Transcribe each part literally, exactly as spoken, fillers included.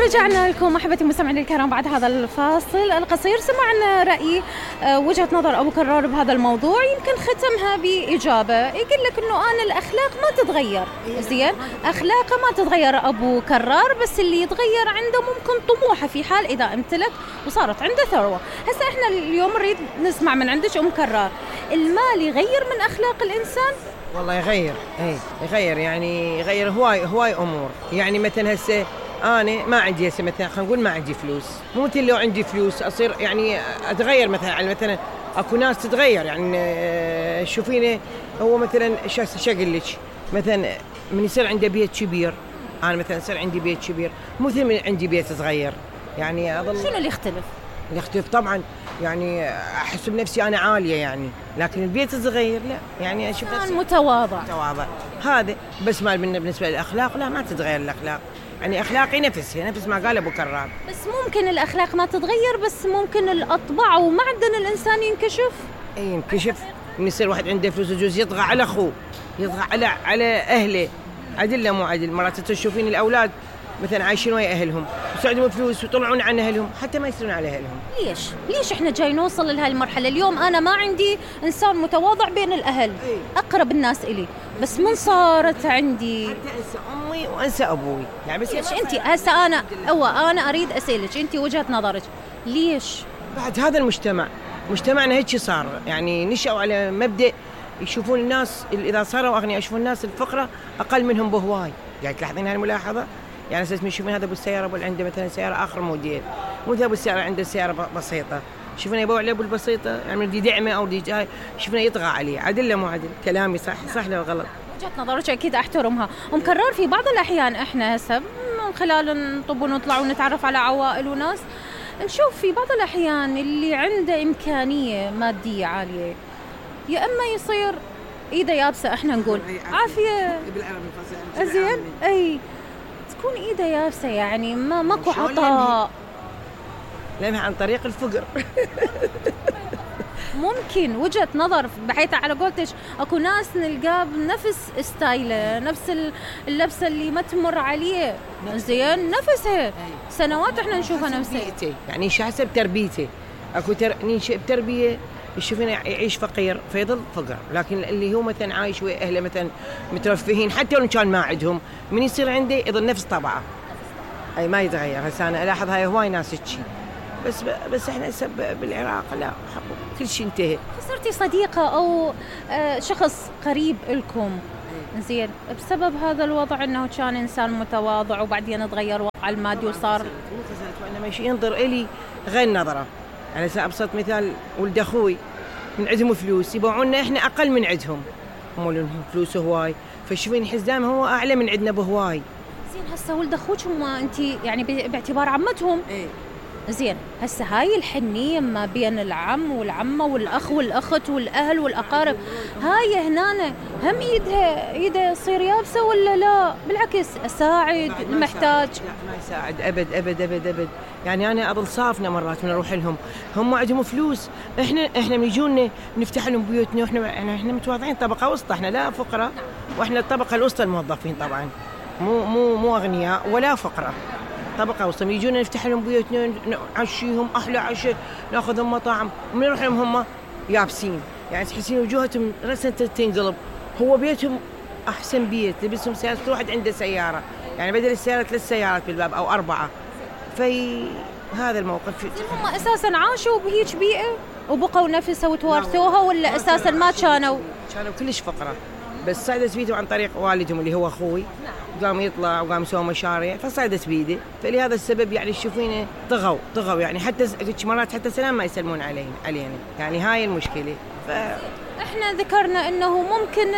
ورجعنا لكم احبتي المستمعين الكرام بعد هذا الفاصل القصير. سمعنا رأي وجهة نظر ابو كرار بهذا الموضوع، يمكن ختمها بإجابة يقول لك انه انا الاخلاق ما تتغير. زين، اخلاقه ما تتغير ابو كرار، بس اللي يتغير عنده ممكن طموحه في حال اذا امتلك وصارت عنده ثروة. هسه احنا اليوم نريد نسمع من عندك ام كرار، المال يغير من اخلاق الانسان؟ والله يغير، اي يغير، يعني يغير هواي هواي امور. يعني مثلا هسه انا ما عندي هسه مثلا خلينا نقول ما عندي فلوس، مو مثل لو عندي فلوس اصير يعني اتغير. مثلا على مثلا اكو ناس تتغير، يعني شوفيني هو مثلا شو اقول لك، مثلا من يصير عنده بيت كبير، انا مثلا يصير عندي بيت كبير مو مثل من عندي بيت صغير. يعني اظل شنو اللي يختلف؟ يختلف طبعا، يعني احس بنفسي انا عاليه يعني، لكن البيت الصغير لا، يعني اشوف نفسي متواضع متواضع هذا. بس ما بالنسبه للاخلاق لا، ما تتغير الاخلاق، يعني اخلاقي نفسها نفس ما قال ابو كرار. بس ممكن الاخلاق ما تتغير، بس ممكن الاطباع ومعدن الانسان ينكشف. اي ينكشف، من يصير واحد عنده فلوس يجوز يطغى على اخوه، يطغى على على اهله، عدل مو عدل. مرات تشوفين الاولاد مثلا عايشين ويا اهلهم بس عندهم فلوس ويطلعون عن اهلهم حتى ما يصيرون على اهلهم. ليش؟ ليش احنا جاي نوصل لهي المرحله؟ اليوم انا ما عندي انسان متواضع بين الاهل، أي. اقرب الناس الي، بس من صارت عندي حتى انسى امي وانسى ابوي. يعني بس ليش انت هسه انا هو انا اريد اسالك انت وجهه نظرك، ليش بعد هذا المجتمع مجتمعنا هيك صار؟ يعني نشأوا على مبدأ يشوفون الناس اذا صاروا اغنياء يشوفون الناس الفقراء اقل منهم بهواي. قاعد تلاحظين هاي الملاحظه؟ يعني اساس يشوفون هذا ابو السياره ابو عنده مثلا سياره اخر موديل، مو ابو السياره عنده سياره بسيطه، شوفنا يبيع عليه ابو البسيطه، يعني بدي دعمه او بدي جاي شوفنا يطغى عليه. عدل مو عدل؟ كلامي صح صح ولا غلط؟ وجهه نظرك اكيد احترمها. ام كرار في بعض الاحيان احنا هسه من خلال نطب ونطلع ونتعرف على عوائل وناس، نشوف في بعض الاحيان اللي عنده امكانيه ماديه عاليه يا اما يصير ايده يابسه، احنا نقول عافيه بالعربي زين، اي تكون ايده يابسه، يعني ما ماكو عطاء، لانها عن طريق الفقر. ممكن وجهة نظر، بحيث على قولتش اكو ناس نلقاه بنفس ستايله، نفس اللبسه اللي ما تمر عليه، زين نفسها سنوات احنا نشوفها نفسها. يعني شو حسب تربيته، اكو تر... ننشئ بتربيه يشوفنا يعيش فقير فيضل فقر، لكن اللي هو مثلا عايش ويا اهله مثلا مترفهين حتى لو كان ما عندهم، من يصير عنده يظل نفس طبعه، اي ما يتغير. هسه انا الاحظ هاي هواي ناس هيك، بس بس احنا هسه بالعراق لا، كل شيء انتهى. خسرتي صديقه او شخص قريب لكم زين بسبب هذا الوضع، انه كان انسان متواضع وبعدين تغير وضعه المادي وصار مو خسرت، وانا ماشي ينظر الي غير نظره. يعني هسه ابسط مثال، ولد اخوي من عندهم فلوس يبيعونا احنا اقل من عندهم، هم لهم فلوس هواي، فشوفين حزام هو اعلى من عندنا بهواي. زين هسه ولد اخوك هم انت يعني باعتبار عمتهم، ايه زين هسه هاي الحنيه ما بين العم والعمه والاخ والاخت والاهل والاقارب، هاي هنا هم ايدها ايدها تصير يابسه ولا لا؟ بالعكس اساعد المحتاج. لا ما يساعد ابد ابد ابد ابد. يعني انا اظل صافنه مرات من اروح لهم، هم عندهم فلوس، احنا احنا من يجونا نفتح لهم بيوتنا، واحنا احنا احنا متواضعين، طبقه وسطى، احنا لا فقراء، واحنا الطبقه الوسطى الموظفين طبعا، مو مو مو اغنياء ولا فقراء، طبقه وسطى. يجونا نفتح لهم بيوتنا نعشيهم احلى عشاء، ناخذهم مطاعم، ومن نروح لهم هم يابسين، يعني تحسين وجوههم رسمه تنقلب. هو بيتهم احسن بيت، لبسهم سيارة، كل واحد عنده سياره، يعني بدل السياره ثلاث سيارات بالباب او اربعه. في هذا الموقف هم اساسا عاشوا بهيج بيئه وبقوا نفسها وتوارثوها، ولا اساسا ما كانوا كانوا كلش فقراء، بس صعدت بيدهم عن طريق والدهم اللي هو اخوي، قام يطلع وقام يسوي مشاريع فصعدت بيده، فلهذا السبب يعني تشوفينه طغوا طغوا يعني حتى مرات حتى سلام ما يسلمون علينا علينا يعني هاي المشكله. ف احنا ذكرنا انه ممكن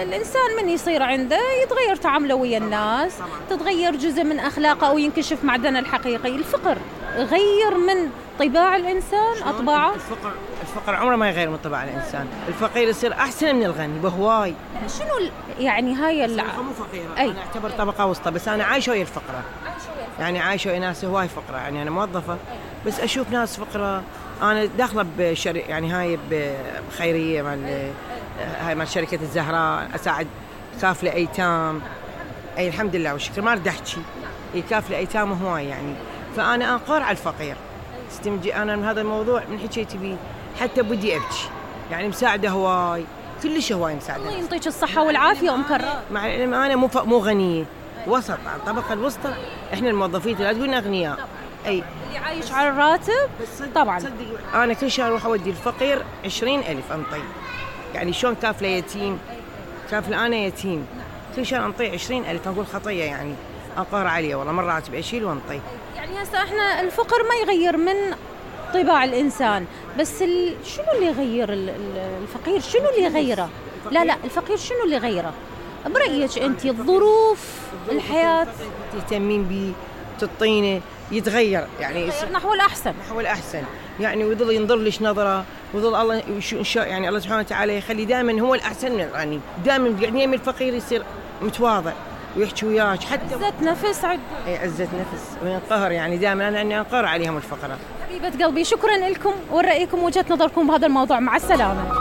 الانسان من يصير عنده يتغير تعامله ويا الناس، تتغير جزء من اخلاقه او ينكشف معدنه الحقيقي. الفقر غير من طباع الانسان اطباعه؟ الفقر الفقر عمره ما يغير من طباع الانسان، الفقير يصير احسن من الغني بهواي. شنو يعني هاي اللي مو فقيره، انا اعتبر طبقه وسطى، بس انا عايشه ويا الفقره، يعني عايشه ويا ناس هواي فقره، يعني انا موظفه بس اشوف ناس فقره. انا داخله بشركه يعني هاي بخيريه مال هاي مال شركه الزهراء، اساعد كافله ايتام، اي الحمد لله والشكر، ما اريد احكي يكافئ ايتامه هواي يعني. فانا انقر على الفقير، استمجي انا من هذا الموضوع من حكيت بيه، حتى بدي ابكي يعني. مساعده هواي، كلش هواي مساعده. الله يعطيك الصحه والعافيه ام كرار. مع العلم انا مو مو غنيه، وسط الطبقه الوسطى. احنا الموظفين لا تقولنا اغنياء، اي اللي عايش على الراتب طبعا. صدق انا كل شهر اروح اودي الفقير عشرين ألف انطي، يعني شلون كافله يتيم، كافله انا يتيم، كل شهر انطي عشرين ألف. اقول خطيه يعني، انقر عليه والله، مرات اشيل وانطي. يعني هسه احنا الفقر ما يغير من طباع الانسان، بس ال... شنو اللي يغير ال- ال- الفقير؟ شنو اللي يغيره؟ لا لا الفقير شنو اللي يغيره برأيك انت؟ الظروف، الحياه، تهتمين به، تعطينه يتغير يعني، يصير نحو الاحسن. نحو الأحسن يعني، ويظل ينظر لش نظرة، ويظل الله إن شاء يعني الله سبحانه وتعالى يخلي دائما هو الأحسن من الغني، دائما يعني من الفقير يصير متواضع ويحكي وياك حتى عزة نفس عد أي عزة نفس وينقهر يعني. دائما أنا أني أنقهر عليهم الفقراء. حبيبة قلبي، شكرا لكم ورأيكم وجهة نظركم بهذا الموضوع. مع السلامة.